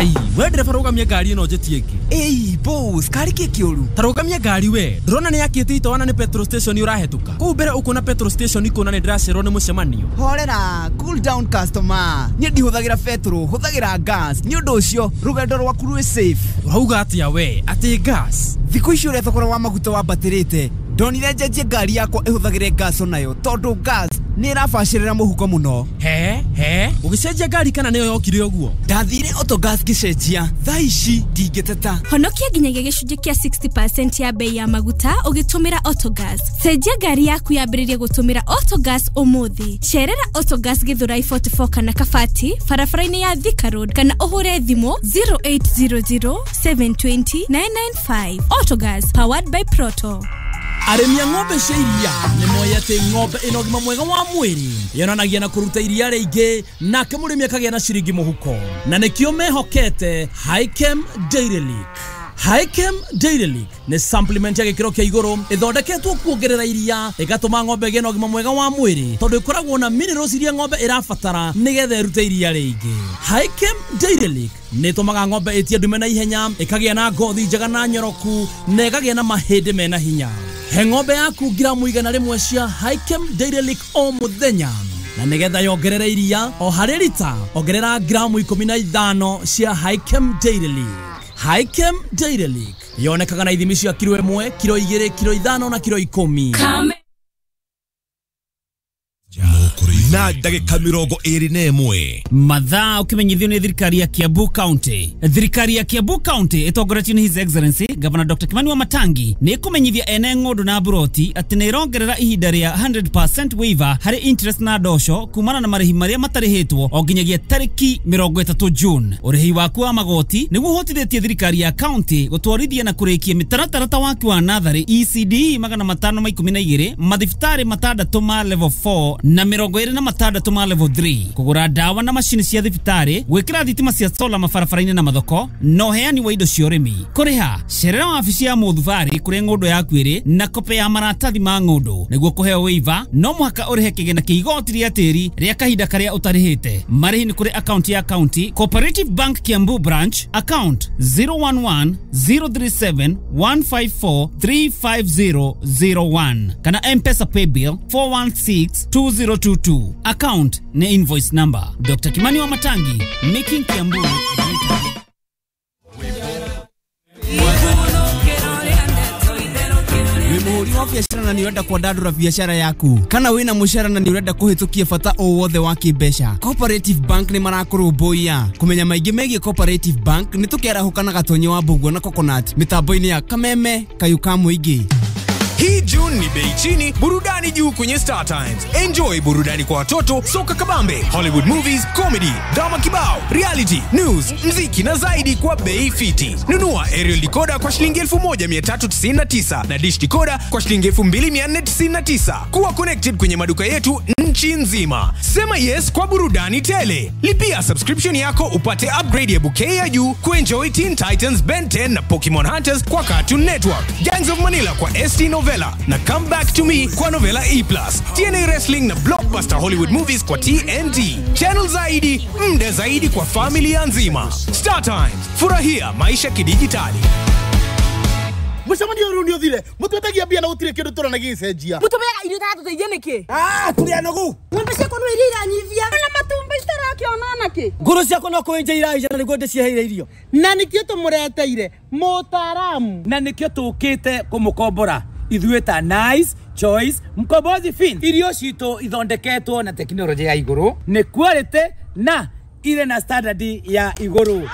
Ai, we ndereba rũgamia ngari ĩno njĩtie ĩngĩ. Ĩi boss, kari kĩ kĩũru? Ta rũgamia ngari we. Ndũrona nĩ yakĩte itawa na nĩ petrol station ũrahĩtũka. Kũu mbere ũkuona petrol station ikũna nĩ ndĩracererwo nĩ mũcemanio. Horera, cool down customer. Niĩ ndihũthagĩra petrol, hũthagĩra gas. Nĩ ũndũ ũcio rũgendo rwaku rwĩ safe. Ũrauga atĩa we? Atĩ gas? Thikũ ici ũrĩa thogora wa maguta wambatĩrĩte, ndonire njenjie ngari yakwa ĩhũthagĩre gas onayo tondũ gas nĩ ĩrabacĩrĩra mũhuko mũno. He he, ũgĩcenjia ngari kana nĩyo yokire ũguo? Ndathire Autogas ngĩcenjia, thaa ici ndingĩteta. Honokia nginyagia gĩcunjĩ kĩa 60% ya bei ya maguta ũgĩtũmĩra Autogas. Cenjia ngari yaku yambĩrĩrie gũtũmĩra Autogas ũmũthĩ. Cerera Autogas Githurai 44 kana Kabati barabara-inĩ ya Thika Road kana ũhũre thimũ 0800 720 995. Autogas, powered by Proto. Arĩmi a ng'ombe cia iria nĩ moĩ atĩ ng'ombe ĩna ũgima mwega wa mwĩrĩ yonanagia na kũruta iria rĩingĩ, nake mũrĩmi akagĩa na ciringi mũhuko, na nĩkĩo mehokete Hikem Dairy Lick. Hikem Dairy Lick nĩ supplement ya gĩkĩro kĩa igũrũ ĩthondeketwo kuongerera iria, ĩgatũma ng'ombe ĩgĩe na ũgima mwega wa mwĩrĩ tondũ ĩkoragwo na minerals iria ng'ombe ĩrabatara nĩgetha ĩrute iria rĩingĩ. Hikem Dairy Lick nĩ ĩtũmaga ng'ombe ĩtie ndume na ihenya, ĩkagĩa na ngothi njega na nyoroku, na ĩkagĩa na mahĩndĩ mena hinya. He ng'ombe yaku gramu 100 cia Hikem Dairy Lick o mũthenya, na nĩgetha yongerere iria o harĩ rita ongerera gramu 15 cia Hikem Dairy Lick. Hikem Dairy Lick yonekaga na ithimi cia kiro 1, kiro 2, kiro 5 na kiro 10. Na ndagĩka 21. Mathaa ũkĩmenyithio nĩ thirikari ya Kiambu County. Thirikari ya Kiambu County ĩtongoretio nĩ His Excellency Governor Dr. Kimani Wamatangi nĩ ĩkũmenyithia ene ng'ũndũ na mburoti atĩ nĩ ĩrongerera ihinda rĩa 100% waiver harĩ interest na ndosho kumana na marĩhi marĩa matarĩhĩtwo o nginyagia tarĩki 30 June. Ũrĩhi waku wa magoti nĩguo ũhotithĩtie thirikari ya county gũtwarithia na kũrĩkia mĩtaratara ta waki wa natharĩ ECD 512, mathibitarĩ 6 ma level 4 na 26 ma level 3, kũgũra ndawa na macini cia thibitarĩ, gwĩkĩra thitima cia sola mabarabara-inĩ na mathoko, na ũheani wa indo cia ũrĩmi. Kũrĩha, cerera wabici ya mũthubarĩ kũrĩa ng'ũndũ yaku ĩrĩ na kope ya maratathi ma ng'ũndũ. Nĩguo kũheo waiver no mũhaka ũrĩhe kĩgĩna kĩa igoti rĩa tĩri rĩa kahinda karĩa ũtarĩhĩte. Marĩhi nĩ kũrĩ akaunti ya county Cooperative Bank Kiambu branch, account 011 037 154 35001 kana M-Pesa paybill 416 2022. Account ni invoice number. Dr. Kimani Wamatangi, making Kiambu great again. Wĩ mũhũri wa biacara na nĩ ũrenda kwandandũra biacara yaku, kana wĩna mũcara na nĩ ũrenda kũhĩtũkia bata o wothe wa kĩmbeca, Cooperative Bank nĩ marakũrũmbũiya. Kũmenya maingĩ megiĩ Cooperative Bank nĩ tũkĩarahũka na Gatonye wa Mbũguo na Coconut mĩtambo-inĩ ya Kameme Kayũ ka Mũingĩ. Hii June ni bei chini, burudani juu kwenye Star Times. Enjoy burudani kwa watoto, soka kabambe, Hollywood movies, comedy, drama kibao, reality, news, mziki na zaidi kwa bei fiti. Nunua aerial decoder kwa shilingi 1399 na dish decoder kwa shilingi 2499. Kuwa connected kwenye maduka yetu nchi nzima. Sema yes kwa burudani tele. Lipia subscription yako upate upgrade ya bouquet ya juu kuenjoy Teen Titans, Ben 10 na Pokemon Hunters kwa Cartoon Network, Gangs of Manila kwa ST Novella na Come Back to Me kwa Novella E+, TNA Wrestling na Blockbuster Hollywood Movies kwa TNT. Channel zaidi, mda zaidi kwa familia nzima. Star Times, furahia maisha kidijitali. Mũcemanio ũyũ nĩ ũthire, mũtwetagia mbia na gũtirĩ kĩndũ tũrona gĩgĩcenjia. Mũtũmeaga irio itaratũteithia nĩkĩ? Ah, tũrĩ anogu. Ng'ombe ciakwa no iria iranyivia na matumbĩ citarakĩona nakĩ. Ngũrũ ciakwa no kũenja iraija na nĩguo ndĩciheire irio. Na nĩkĩo tũmũreteire mũtaaramu. Na nĩkĩo tũkĩte kũmũkombora ithuĩ ta Nice Choice Mkombozi Fin. Irio citũ ithondeketwo na tekinoronjĩ ya igũrũ, nĩ quality na irĩ na standard ya igũrũ.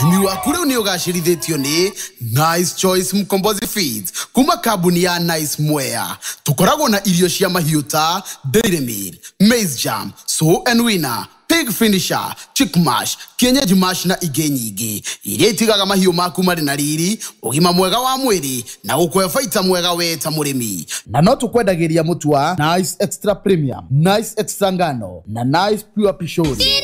Ũrĩmi waku rĩu nĩ ũgacĩrithĩtio nĩ Nice Choice Mkombozi Feeds kuma kambuni ya Nice Mwea. Tũkoragwo na irio cia mahiũ ta Dairy Meal, Maize Jam, Sow and Winner, Pig Finisher, Chick Mash, Kienyeji Mash na ingĩ nyingĩ iria itigaga mahiũ maku marĩ na riri, ũgima mwega wa mwĩrĩ na gũkũhe baita mwega we ta mũrĩmi. Na no tũkwendagĩria mũtu wa Nice Extra Premium, Nice Extra Ngano na Nice Pure Pishori. Nice.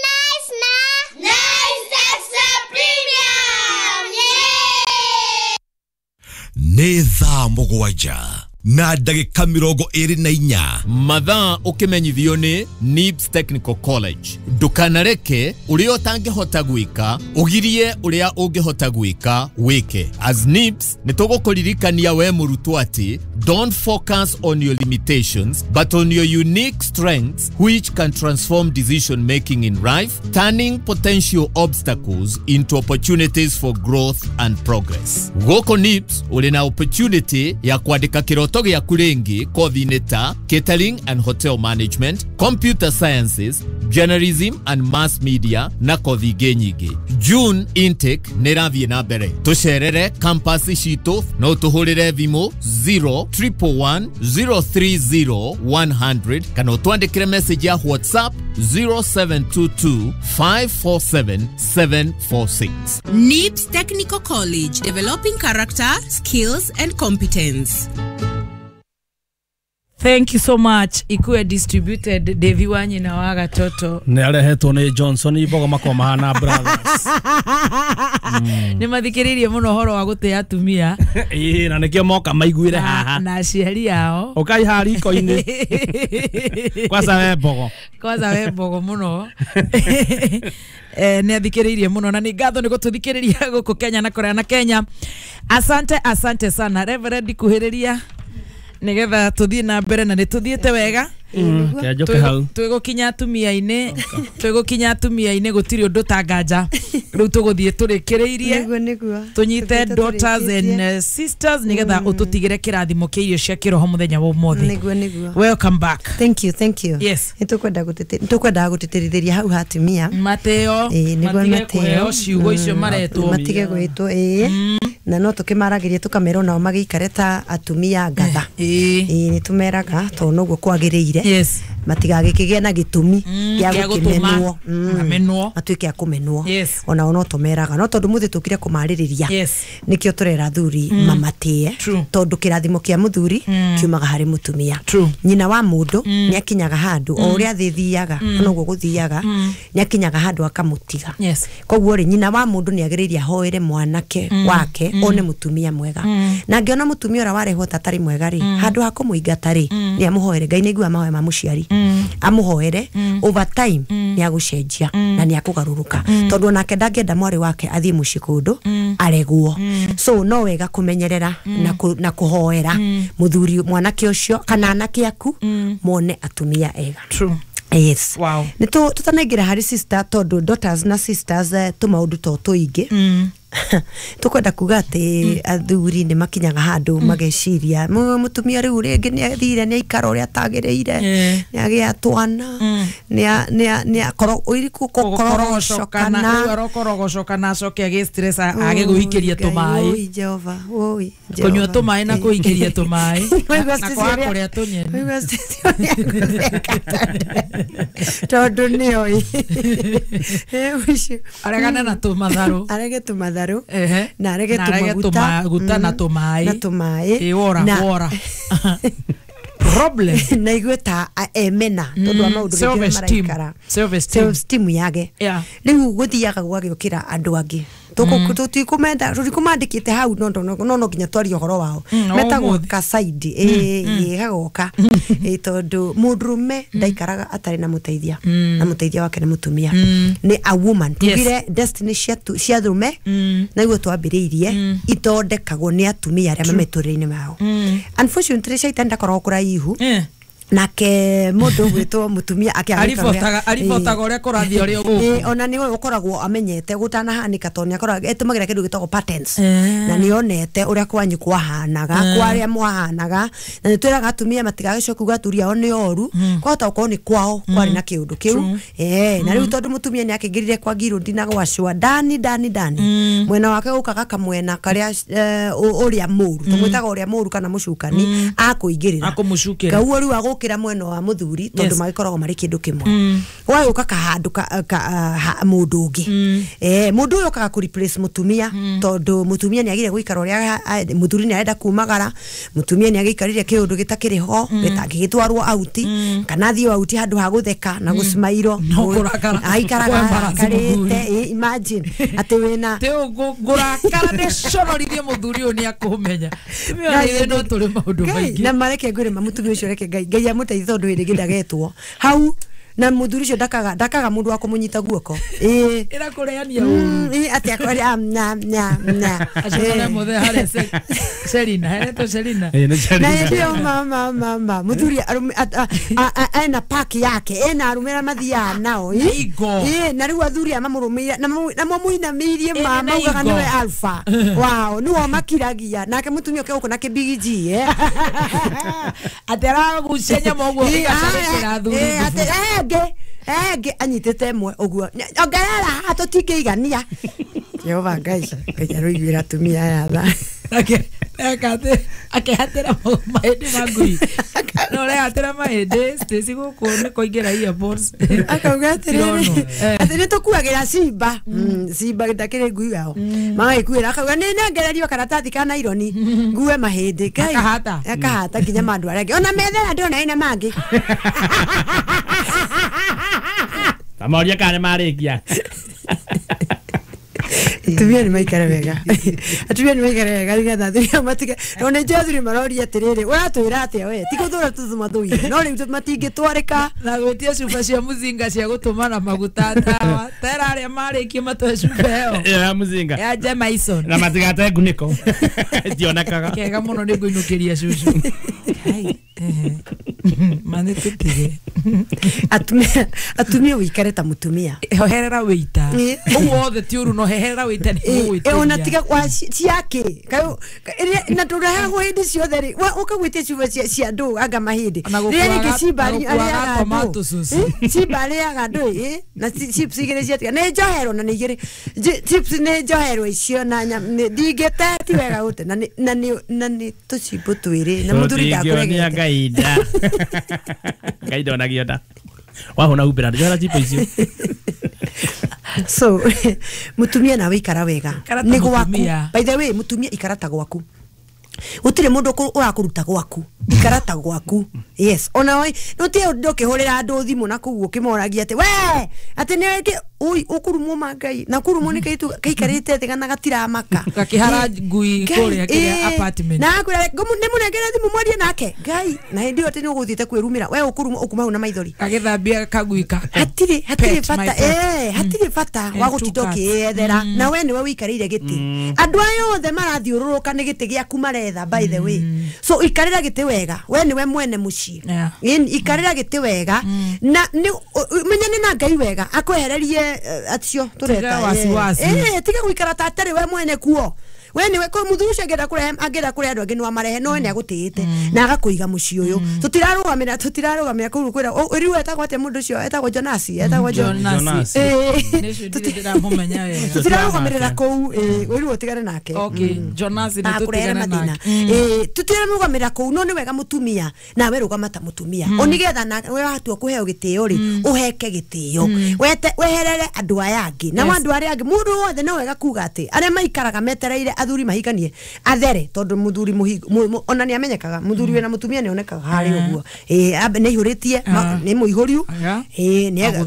Nice na Nice Extra Premium. Yeah! Nĩ thaa 7. Na ndagĩka 24. Mathaa ũkĩmenyithio nĩ NIBS Technical College. Ndũkanareke ũrĩa ũtangĩhota gwĩka ũgirie ũrĩa ũngĩhota gwĩka wĩke. As NIBS nĩ tũgũkũririkania we mũrutwo atĩ don't focus on your limitations but on your unique strengths which can transform decision making in life, turning potential obstacles into opportunities for growth and progress. Gũkũ NIBS ũrĩ na opportunity ya kwandĩka kĩroto gĩaku rĩngĩ kothi-inĩ ta catering and hotel management, computer sciences, journalism and mass media na kothi ingĩ nyingĩ. June intake nĩ ĩrathiĩ na mbere. Tũcerere campus citũ no tũhũrĩre thimũ 0 111 030 100 kana ũtwandĩkĩre message ya WhatsApp 0722 547 746. NIBS Technical College, developing character, skills, and competence. Thank you so much. Ikue distributed Devi wa nyina wa gatoto. Nĩ arehetwo nĩ Johnson Ibogo makwa mahana brothers. Nĩ mathikĩrĩirie mũno ũhoro wa gũtĩa atumia. Ĩĩ, na nĩkĩo moka maiguire haha. Na aciari ao. Ũkai haha riko-inĩ. Kwanza we Mbogo. Kwanza we Mbogo mũno. Nĩ athikĩrĩirie mũno na nĩ ngatho nĩ gũtũthikĩrĩria gũkũ Kenya na kũraya na Kenya. Asante, asante sana. Reverend, kuhĩrĩria nigetha tuthiĩ na mbere na nĩ tuthiĩte wega. Kĩanjũke hau. Twĩgũkinya atumia-inĩ, twĩgũkinya atumia-inĩ gũtirĩ ũndũ tanganja. Rĩu tũgũthiĩ tũrĩkĩrĩirie. Nĩguo nĩguo. Tũnyite daughters and sisters nigetha ũtũtigĩre kĩrathimo kĩa irio cia kĩroho mũthenya wa ũmũthĩ. Nĩguo nĩguo. Welcome back. Thank you, thank you. Yes. Nĩtũkwenda gũtĩtĩrithĩria hau hatumia. Mateo. Ĩĩ, nĩguo. Matige mateo. Kũheo ciugo icio maretwo. Matige gwĩtwo, ĩĩ. Na no tũkĩmaragĩria tũkamera onao magĩikare ta atumia ngatha. Ĩĩ, nĩ tũmeraga tondũ noguo kwagĩrĩire. Matigagĩkĩgĩe na gĩtũmi gĩa gĩa gũtũma gũkĩmenwo. Mamenwo. Matuĩke a kũmenwo. Onao no tũmeraga no tondũ mũthĩ tũkire kũmarĩrĩria nĩkĩo tũrera athuri mamatĩe tondũ kĩrathimo kĩa mũthuri kiumaga harĩ mũtumia. Nyina wa mũndũ nĩ akinyaga handũ o ũrĩa thĩ thiaga noguo gũthiaga nĩ akinyaga handũ akamũtiga. Koguo rĩ, nyina wa mũndũ nĩ agĩrĩire ahoere mwanake wake one mũtumia mwega na angĩona mũtumia ũrĩa warehwo ta atarĩ mwega rĩ, handũ ha kũmũingata rĩ, nĩ amũhoere. Ngai nĩ aiguaga mahoya ma mũciari. Amũhoere, over time nĩ agũcenjia na nĩ akũgarũrũka tondũ onake ndangĩenda mwarĩ wake athiĩ mũciĩ kũndũ aregwo. So no wega kũmenyerera na kũhoera mũthuri mwanake ũcio kana anake aku mone atumia ega. True. Yes. Wow. Nĩ tũtanaingĩra harĩ sister tondũ daughters na sisters tũmaũndũ to tũingĩ tukwenda kuga atĩ athuri nĩ makinyaga handũ mageciria mũtumia rĩu rĩngĩ nĩ athire nĩ aikara ũrĩa atagĩrĩire, nĩ agĩa twana, nĩ akorwo Kũkorogocokana rĩu arokorogocokana acoke agĩ stress age gwĩikĩria tũmaĩ. Oi Jehova, oi. Kũnyua tũmaĩ na kũikĩria tũmaĩ Waigua na Stacy kwaga ũrĩa- kũrĩa tũnyeni. Waigua Stacy ũrĩa agũtheka tondũ nĩoĩ ũcio. Aregane na tũmatharũ. Arege tũmatharũ Ehe. na arege Na arege tũmaguta tũmaguta na tũmaĩ. Na tũmaĩ. Ĩ, wora wora problem. Na igue ta emena tondũ wa maũndũ rĩngĩ Self-esteem. maraikara. Self-esteem. Self-esteem yage. Rĩu gũthiaga gũgagĩũkĩra andũ angĩ tũtikumenda tũtikumandĩkĩte hau no no no no nginya twarie ũhoro wao O metagwo ũmũthĩ. kasaidi ĩ gagoka ĩ tondũ mũndũrũme ndaikaraga atarĩ na mũteithia na mũteithia wake nĩ mũtumia, nĩ a woman. Tugire destiny cia arũme na iguo twambĩrĩirie ithondekagwo nĩ atumia arĩa me mĩtũrĩre-inĩ mao. Unfortunately shaitani ndakoragwo kũraihu nake mũndũ ũgwĩtwo mũtumia Aribotaga ũrĩa kũrathiĩ ũrĩa gũkũ. Ĩ, ona nĩwe ũkoragwo amenyete gũtanahanĩka tondũ nĩ akoragwo etũmagĩra kĩndũ gĩtagwo patterns na nĩ onete ũrĩa kwanyu kwahanaga kwa arĩa mwahanaga na nĩ twĩraga atumia matigagĩcoke kuga athuri ao nĩ oru, kwahota gũkorwo nĩ kwao kwarĩ na kĩũndũ kĩu. Na rĩu tondũ mũtumia nĩ akĩingĩrire kwa ngirũndi na gwacũa ndani ndani ndani mwena wake gũkaga kamwena karĩa ũrĩa mũru tũmwĩtaga ũrĩa mũru kana mũcukani akũingĩrĩra Akũmũcukĩra. Kau rĩu agũkĩra. gũkĩra mwena wa mũthuri tondũ magĩkoragwo marĩ kĩndũ kĩmwe. Gũgagĩũka kahandũ mũndũ ũngĩ. Mũndũ ũyũ okaga kũ replace mũtumia tondũ mũtumia nĩagire gũikara ũrĩa mũthuri nĩarenda kumagara, mũtumia nĩagĩikarire kĩũndũ gĩtakĩrĩ ho gĩtangĩgĩtwarwo auti kana athiĩ auti handũ ha gũtheka na gũcimairo aikaraga arakarĩte. Imagine atĩ wĩna ngũrakara nĩconorithie mũthuri ũyũ nĩakũmenya. No tũrĩ maũndũ maingĩ na mareke ngwĩre mũtumia ũcio reke Ngai amũteithie tondũ hĩndĩ ĩngĩ ndagetwo hau na mũthuri ũcio ndakaga mũndũ wa kũmũnyita guoko. Ĩra kũreania ũru atĩ akoria na na na acio mothe harĩa Selina heretwo Selina na hĩndĩ mama mama mũthuri ena park yake ena arũme arĩa mathiaga nao na rĩu athuri aya mamũrũmĩire na mamũinamĩirie maugaga nĩwe alpha wao nĩwe makiragia nake mũtumia ũke gũkũ na kĩbigiji atĩ aragucia nyama ũguo ĩgacagĩra athuri enge anyitĩte ĩmwe ũguo ongerera haha tũtingĩigania. Jehova Ngai Ngai aroiguĩra atumia aya tha. Akĩhatĩra mahĩndĩ ma ngui no ũrehatĩra mahĩndĩ Stacy gũkũ nĩ kũingĩra earpods akauga atĩrĩrĩ atĩ nĩ tũkuagĩra simba simba ndakĩrĩ ngui yao magagĩkuĩra akauga nĩ nengererio karatathi ka naironi ngue mahĩndĩ Ngai akahata nginya ma andũ arĩa angĩ ona methera ndona ĩna mangĩ. Tamoria kana nĩmarĩkia. Atumia nĩ maikare wega. Atumia nĩ maikare wega nĩgetha athuri matige. Ona ithuĩ athuri maroria atĩrĩrĩ, ũratwĩra atĩa we? Ti gũthũra tũmathũire. No rĩu matingĩtwarĩka. Na gwĩtia cuba cia mũcinga cia gũtũma na maguta ndawa. Tera arĩa marĩkie matwe cuba ĩyo. Ya mũcinga. Ya Jemaison. Na matigate ngunĩko. Itionekaga. Kega mũno nĩ ngũinũkĩria cucu. Mane tũtige. Atumia wĩikare ta mũtumia. Hoherera wĩita. Ũguo wothe ti ũru no heherera wĩita nĩ gũgwĩtĩria. Ona tiga ciake. Na tũrehagwo hĩndĩ ciothe rĩ. Ũkagwĩtia cuba cia andũ anga mahĩndĩ. Rĩrĩa rĩngĩ cimba arĩaga andũ. Cimba arĩaga andũ na chips igĩrĩ ciatiga. Nĩ njoherwo na nĩ igĩrĩ. Chips nĩ njoherwo icio na ndingĩte ti wega gũte na nĩ tũcimbo twĩrĩ na mũthuri ndakũregete. Ngai nda. Ngai ndonagio nda. Wahona humbĩra njohera chipo icio. So mutumia nawe ikara wega nĩ gwaku. By the way mutumia ikara ta gwaku. Gũtirĩ mũndũ ũrakũruta gwaku. Ikara ta gwaku. Yes. Ona we no ti ndũkĩhũrĩra andũ thimũ na kũu ũkĩmoragia atĩ we atĩ nĩ oi ũkũrumwo ma Ngai na kũrumwo nĩ kaitu kaikarĩte thĩ kana gatiramaka gakĩhara ngui kũrĩa kĩrĩa apartment na akwĩra nĩ mũnengere thimũ mwarie nake Ngai na hĩndĩ ĩyo atĩ nĩ ũgũthiĩte kwĩrumĩra we ũkũrumwo ũkuma hau na maithori agĩthambia kagui kako. Hatirĩ bata hatirĩ bata wa gũtinda ũkĩyethera na we nĩwe wĩikarĩire gĩtĩ. Andũ aya othe marathiũrũrũka nĩ gĩtĩ gĩaku maretha by the way. So ikarĩra gĩtĩ wega we nĩwe mwene mũciĩ. Ikarĩra gĩtĩ wega na menyane na Ngai wega akwehererie acio tureta tiga guikara ta atarĩ we mwene kuo. We niwe ko muthuri ucio angĩenda kũrehe angĩenda kũrehe andũ angĩ nĩwamarehe no we nĩagũtĩĩte na agakũiga mũciĩ ũyũ. Tũtirarũgamĩra kũu kwĩra rĩu etagwo atĩa mũndũ ũcio etagwo Jonasi etagwo Jonasi tũtirarũgamĩrĩra kũu rĩu ũtigane nake. Jonasi nĩ tũtigane nake. Tũtirarũgamĩrĩra kũu no nĩ wega mũtumia nawe rũgama ta mũtumia o nĩgetha we watua kũheo gĩtĩo rĩ ũheke gĩtĩo weherere andũ aya angĩ na andũ arĩa angĩ mũndũ wothe no wega kuga atĩ arĩa maikaraga metereire athuri mahikanie athere tondu muthuri ona ni amenyekaga muthuri wena mutumia ni onekaga hari uguo nĩ ihũrĩtie nĩ mũihũriu nĩ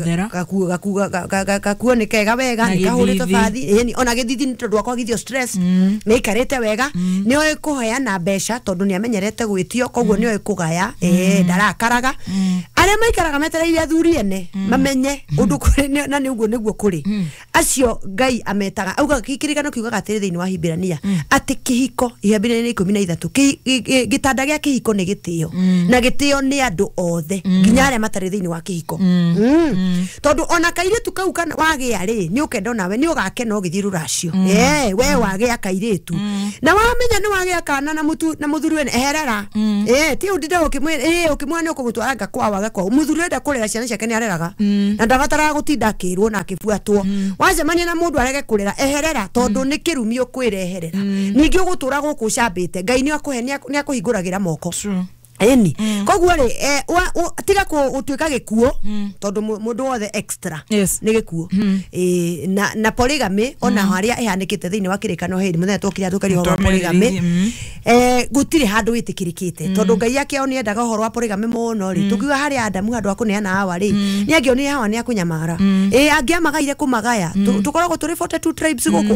gakuo nĩ kega wega nĩ kahũrĩtwo bathi ona gĩthithi nĩ tondũ akwagithio stress nĩ aikarĩte wega nĩ oĩ kũheana mbeca tondũ nĩ amenyerete gwĩtio koguo nĩ oĩ kũgaya ndarakaraga arĩa maikaraga metereire athuri ene mamenye ũndũ kũrĩ na nĩ ũguo nĩguo kũrĩ acio Ngai ametaga auga kĩrĩkano kiugaga atĩrĩ thĩinĩ wa Hibirania atĩ kĩhiko Hibirania 13 gĩtanda gĩa kĩhiko nĩ gĩtĩo na gĩtĩo nĩ andũ othe nginya arĩa matarĩ thĩinĩ wa kĩhiko tondũ ona kairĩtu kau kana wagĩa rĩ nĩ ũkenda onawe nĩ ũgakena ũgĩthiĩ rũracio we wagĩa kairĩtu na wamenya nĩ wagĩa kana na mũthuri wene eherera ti ũndinde ũkĩmwĩra ũkĩmwĩra nĩ ũkũmũtwara nga kwao aga kwao mũthuri enda kũrera ciana ciake nĩ areraga na ndabataraga gũtinda akĩrwo na akĩbuatwo wacemania na mũndũ arege kũrera eherera tondũ nĩ kĩrumi ũkwĩreherera ningĩ ũgũtũra gũkũ ũcambĩte Ngai nĩ akũhe nĩ akũhingũragĩra moko. Eni koguo rĩ, tiga gũtuĩka gĩkuũ, tondũ mũndũ wothe extra nĩ gĩkuũ. Na polygamy, ona harĩa ĩhanĩkĩte thĩinĩ wa kĩrĩkano, hĩndĩ mũthenya twokire tũkaria ũhoro wa polygamy, gũtirĩ handũ wĩtĩkĩrĩkĩte, tondũ Ngai akĩo nĩ endaga ũhoro wa polygamy mũno rĩ, tũkiuga harĩ Adamu handũ ha kũneana Hawa rĩ, nĩ angĩonire Hawa nĩ akũnyamara, ĩ angĩamagaire kũmagaya. Tũkoragwo tũrĩ 42 tribes gũkũ.